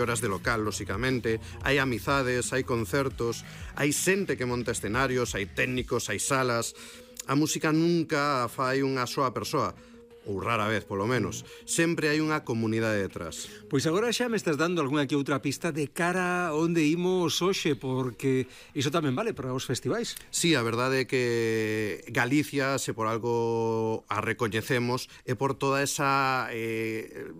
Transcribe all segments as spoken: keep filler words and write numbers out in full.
horas de local, lóxicamente, hai amizades, hai concertos, hai xente que monta escenarios, hai técnicos, hai salas. A música nunca fai unha soa persoa, ou rara vez, polo menos. Sempre hai unha comunidade detrás. Pois agora xa me estás dando algunha que outra pista de cara onde imos hoxe, porque iso tamén vale para os festivais. Sí, a verdade é que Galicia, se por algo a recoñecemos, é por toda esa eh,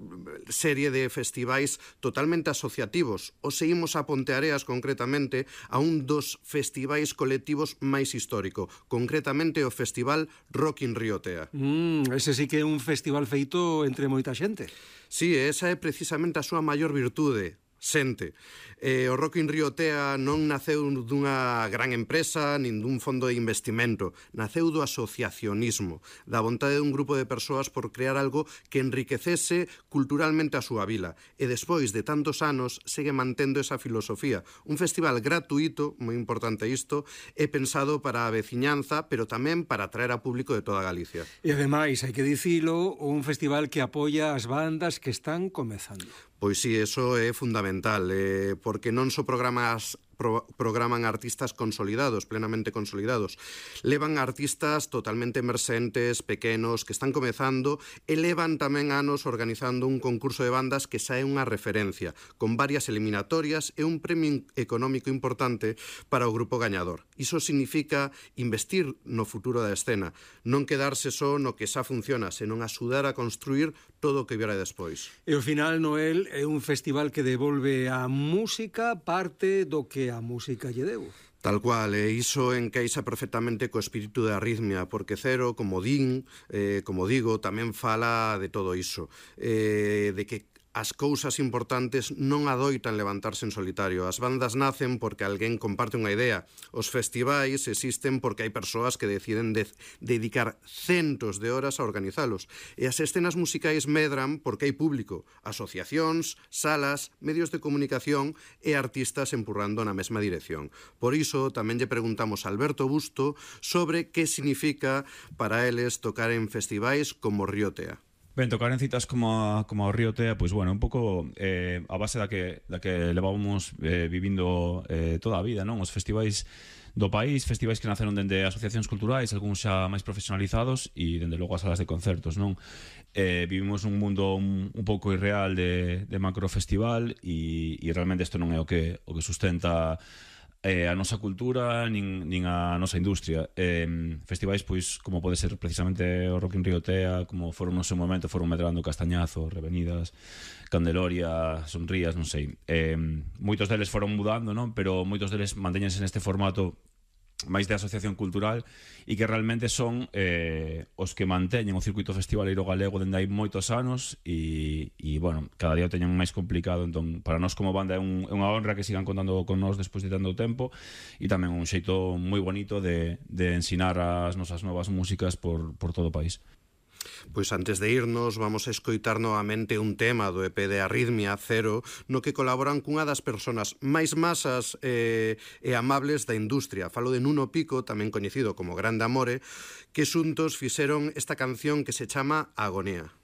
serie de festivais totalmente asociativos. O seguimos a Ponteareas, concretamente, a un dos festivais colectivos máis histórico, concretamente o Festival Rock in Río Tea. Mm, ese sí que é un festival feito entre moita xente. Sí, esa é precisamente a súa maior virtude, xente. Eh, o Rock in Río Tea non naceu dunha gran empresa nin dun fondo de investimento, naceu do asociacionismo, da vontade dun grupo de persoas por crear algo que enriquecese culturalmente a súa vila, e despois de tantos anos segue mantendo esa filosofía. Un festival gratuito, moi importante isto, é pensado para a veciñanza, pero tamén para atraer a público de toda Galicia. E ademais, hai que dicilo, un festival que apoia as bandas que están comezando. Pois sí, eso é fundamental, eh, porque non só programas pro, programan artistas consolidados, plenamente consolidados, levan artistas totalmente emerxentes, pequenos, que están comezando, e levan tamén anos organizando un concurso de bandas que xa é unha referencia, con varias eliminatorias e un premio económico importante para o grupo gañador. Iso significa investir no futuro da escena, non quedarse só no que xa funciona, senón axudar a construir todo o que viera despois. E ao final, Noel, é un festival que devolve á música parte do que a música lle deu. Tal cual, e iso encaixa perfectamente co espírito de Arritmia, porque Cero, como din, eh, como digo, tamén fala de todo iso, eh, de que as cousas importantes non adoitan levantarse en solitario. As bandas nacen porque alguén comparte unha idea. Os festivais existen porque hai persoas que deciden de dedicar centos de horas a organizalos. E as escenas musicais medran porque hai público, asociacións, salas, medios de comunicación e artistas empurrando na mesma dirección. Por iso, tamén lle preguntamos a Alberto Busto sobre que significa para eles tocar en festivais como Río Tea. Ben, tocar en citas como a, como a Río Tea, pois, bueno, un pouco eh, a base da que, da que levábamos eh, vivindo eh, toda a vida, non? Os festivais do país, festivais que naceron dende asociacións culturais, algúns xa máis profesionalizados, e dende logo as salas de concertos, non? Eh, vivimos nun mundo un, un pouco irreal de, de macrofestival, e, e realmente isto non é o que, o que sustenta Eh, a nosa cultura nin, nin a nosa industria. Eh, festivais, pois, como pode ser precisamente o Rock in Río Tea, como foron no seu momento, foron Medrando, Castañazo, Revenidas, Candeloria, Sonrías, non sei. Eh, moitos deles foron mudando, non? Pero moitos deles mantéñense neste formato máis de asociación cultural e que realmente son eh, os que manteñen o circuito festivaleiro galego dende hai moitos anos e, e bueno, cada día o teñen máis complicado. Entón, para nós como banda é, un, é unha honra que sigan contando con nós despois de tanto tempo, e tamén un xeito moi bonito de, de ensinar as nosas novas músicas por, por todo o país. Pois antes de irnos, vamos a escoitar novamente un tema do E P de Arritmia, Cero, no que colaboran cunha das persoas máis masas eh, e amables da industria. Falo de Nuno Pico, tamén coñecido como Grande Amore, que xuntos fixeron esta canción que se chama Agonía.